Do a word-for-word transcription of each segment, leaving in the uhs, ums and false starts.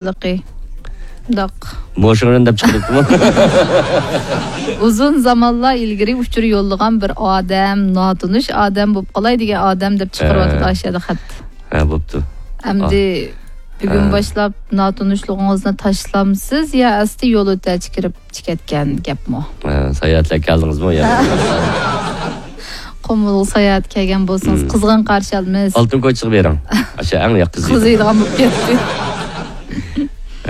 لىقى. داق. موشىڭىرىن دەپ چىقىرىپتىمۇ؟ ئۇزۇن زامانلار ئىلگىرى ئۇچۇر يوللىغان بىر ئادەم، ناتونۇش ئادەم بولۇپ قالاي دېگەن ئادەم دەپ چىقىرىۋاتىدۇ ھە. ئاشۇ يەردە خەت. ھە، بوپتۇ. ئەمدى ھە. بۈگۈن ھە. باشلاپ ناتونۇشلۇقىڭىزنى تاشلامسىز يا ئەسلى يول ئۆتەچە كىرىپ چىقىۋەتكەن گەپمۇ؟ ھە، ساياھەتلەپ كەلدىڭىزمۇ يا؟ قۇمۇلغا ساياھەت كەلگەن بولسىڭىز، مم. قىزغىن قارشى ئالىمىز. ئالتۇن كوچىغا بېرىڭ. ئاشۇ ئەڭ ياق قىزىيدۇ. قىزىيدىغان بولۇپ كەتتى.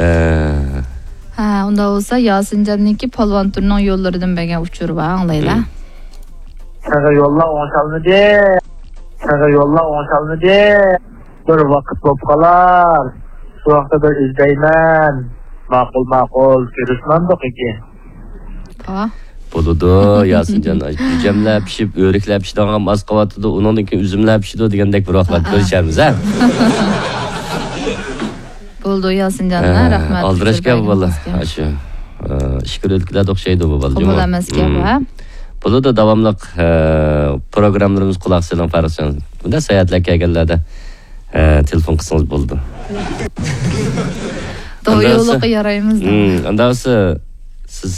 ئە. ھە، ئۇنداق بولسا ياسىنجاننىڭكى پالۋان تۈرنىڭ يوللىرىدىن بەرگەن ئۇچۇرى بار، ئاڭلايلا. مم. ساڭا يوللار ئوڭشالمىدى. ساڭا يوللار ئوڭشالمىدى. بىر ۋاقىت بولۇپ قالار. شۇ ۋاقىتتا بىر ئىزدەيمەن. ماقۇل، ماقۇل. كۆرۈشمەمدۇق ئىكى. ھا؟ بولىدۇ، ياسىنجان. جۈجەملەر پىشىپ، ئۆرۈكلەر پىشىدىغان ئاز قاۋاتىدۇ. ئۇنىڭدىن كېيىن ئۈزۈملەر پىشىدۇ دېگەندەك بىر ۋاقىتلاردا ھا. كۆرۈشەرمىز، ھە؟ بولىدۇ، ياسىنجان. ھە، رەھمەت. ئالدىراش گەپ بۇ بالا. ئاشۇ، ئە، ئىككى ئۆلكىلەردە ئوخشايدۇ بۇ بالا. قوبۇل ئەمەس گەپ، ھە؟ بولىدۇ، داۋاملىق، ئە، پروگراممىلىرىمىزغا قۇلاق سېلىڭ، پارىقجان. بۇنداق ساياھەتلەر كەلگەنلەردە، ئە، تېلېفون قىلسىڭىز بولىدۇ. توغرا يوللۇققا يارايمىز. ئانداق بولسا، سىز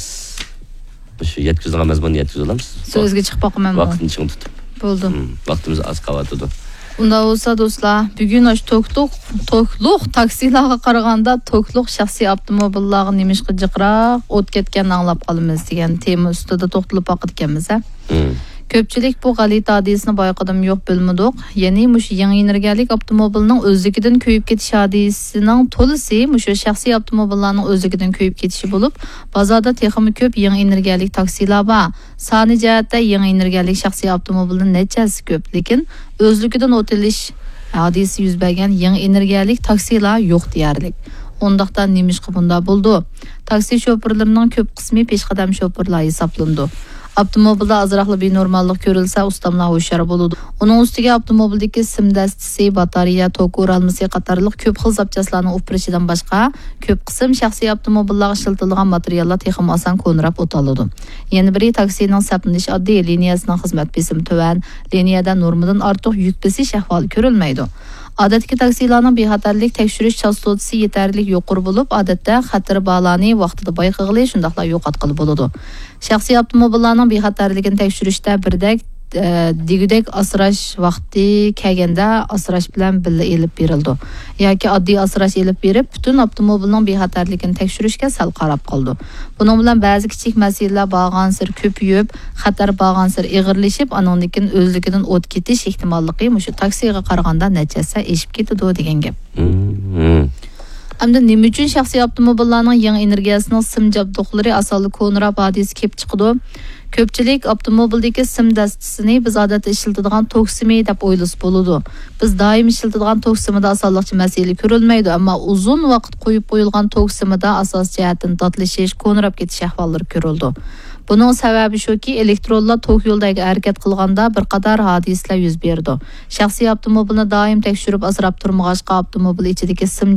مۇشۇ يەتكۈزىدىغان مەزمۇننى يەتكۈزۈۋالامسىز؟ سۆزگە چىقىپ باقىمەن. ۋاقىتنى چىڭ تۇتۇپ. بولدى. ھىم، ۋاقتىمىز ئاز قالىۋاتىدۇ. ئۇنداق بولسا، دوستلار، بۈگۈن ئاشۇ توكلۇق، توكلۇق تاكسىلارغا قارىغاندا، توكلۇق شەخسىي ئاپتوموبىللارغا نېمىشقا جىقراق ئوت كەتكەننى ئاڭلاپ قالىمىز دېگەن تېما ئۈستىدە توختىلىپ باقىدىكەنمىز، ھە؟ ھىم. كۆپچىلىك بۇ غەلىتە ھادىسىنى بايقىدىمۇ يوق بىلمىدۇق. يەنى مۇشۇ يېڭى ئېنېرگىيەلىك ئاپتوموبىلنىڭ ئۆزلۈكىدىن كۆيۈپ كېتىش ھادىسىنىڭ تولىسى مۇشۇ شەخسىي ئاپتوموبىللارنىڭ ئۆزلۈكىدىن كۆيۈپ كېتىشى بولۇپ، بازاردا تېخىمۇ كۆپ يېڭى ئېنېرگىيەلىك تاكسىلار بار. سانى جەھەتتە يېڭى ئېنېرگىيەلىك شەخسىي ئاپتوموبىلدىن نەچچە ھەسسە كۆپ، لېكىن ئۆزلۈكىدىن ئوت ئېلىش ھادىسىسى يۈز بەرگەن يېڭى ئېنېرگىيەلىك تاكسىلار يوق دېيەرلىك. ئۇنداقتا نېمىشقا بۇنداق بولىدۇ؟ تاكسى شوپۇرلىرىنىڭ كۆپ قىسمى پېشقەدەم شوپۇرلار ھېسابلىنىدۇ. ئاپتوموبىلدا ئازراقلا بىنورماللىق كۆرۈلسە، ئۇستاملار ھوشيار بولىدۇ. ئۇنىڭ ئۈستىگە ئاپتوموبىلدىكى سىم دەستىسى، باتارېيە، توك ئورالمىسى قاتارلىق كۆپ خىل زاپچاسلارنىڭ ئۇپرىشىدىن باشقا، كۆپ قىسىم شەخسىي ئاپتوموبىللارغا ئىشلىتىلىدىغان ماتېرىياللار تېخىمۇ ئاسان كونىراپ ئوتالىدۇ. يەنە بىرى، تاكسىنىڭ سەپلىنىشى ئاددىي، لىنىيەسىنىڭ خىزمەت بېسىمى تۆۋەن، لىنىيەدە نورمىدىن ئارتۇق يۈك بېسىش ئەھۋالى كۆرۈلمەيدۇ. ئادەتتىكى تاكسىلارنىڭ بىخەتەرلىك تەكشۈرۈش چاستوتىسى يېتەرلىك يۇقىرى بولۇپ، ئادەتتە خەتىرى بارلارنى ۋاقتىدا بايقىغىلى، شۇنداقلا يوقاتقىلى بولىدۇ. شەخسىي ئاپتوموبىللارنىڭ بىخەتەرلىكىنى تەكشۈرۈشتە بىردەك، ئە، دېگۈدەك ئاسراش ۋاقتى كەلگەندە ئاسراش بىلەن بىللە ئېلىپ بېرىلىدۇ. ياكى ئاددىي ئاسراش ئېلىپ بېرىپ، پۈتۈن ئاپتوموبىلنىڭ بىخەتەرلىكىنى تەكشۈرۈشكە سەل قاراپ قالىدۇ. بۇنىڭ بىلەن بەزى كىچىك مەسىلىلەر بارغانسېرى كۆپىيىپ، خەتەر بارغانسېرى ئېغىرلىشىپ، ئانىڭدىن كېيىن ئۆزلۈكىدىن ئوت كېتىش ئېھتىماللىقى مۇشۇ تاكسىغا قارىغاندا نەچچە ھەسسە ئېشىپ كېتىدۇ دېگەن گەپ. مم. ئەمدى نېمە ئۈچۈن شەخسىي ئاپتوموبىللارنىڭ يېڭى ئېنېرگىيەسىنىڭ سىم جابدۇقلىرى ئاسانلا كونىراپ ھادىسە كېلىپ چىقىدۇ؟ كۆپچىلىك ئاپتوموبىلدىكى سىم دەستىسىنى بىز ئادەتتە ئىشلىتىدىغان توك سىمى دەپ ئويلىسا بولىدۇ. بىز دائىم ئىشلىتىدىغان توك سىمىدا ئاسانلىقچە مەسىلە كۆرۈلمەيدۇ، ئەمما ئۇزۇن ۋاقىت قويۇپ قويۇلغان توك سىمىدا ئاساسىي جەھەتتىن داتلىشىش، كونىراپ كېتىش ئەھۋاللىرى كۆرۈلىدۇ. بۇنىڭ سەۋەبى شۇكى، ئېلېكترونلار توك يولىدا ھەرىكەت قىلغاندا بىر قاتار ھادىسىلەر يۈز بېرىدۇ. شەخسىي ئاپتوموبىلنى دائىم تەكشۈرۈپ ئاسراپ تۇرمىغاچقا، ئاپتوموبىل ئىچىدىكى سىم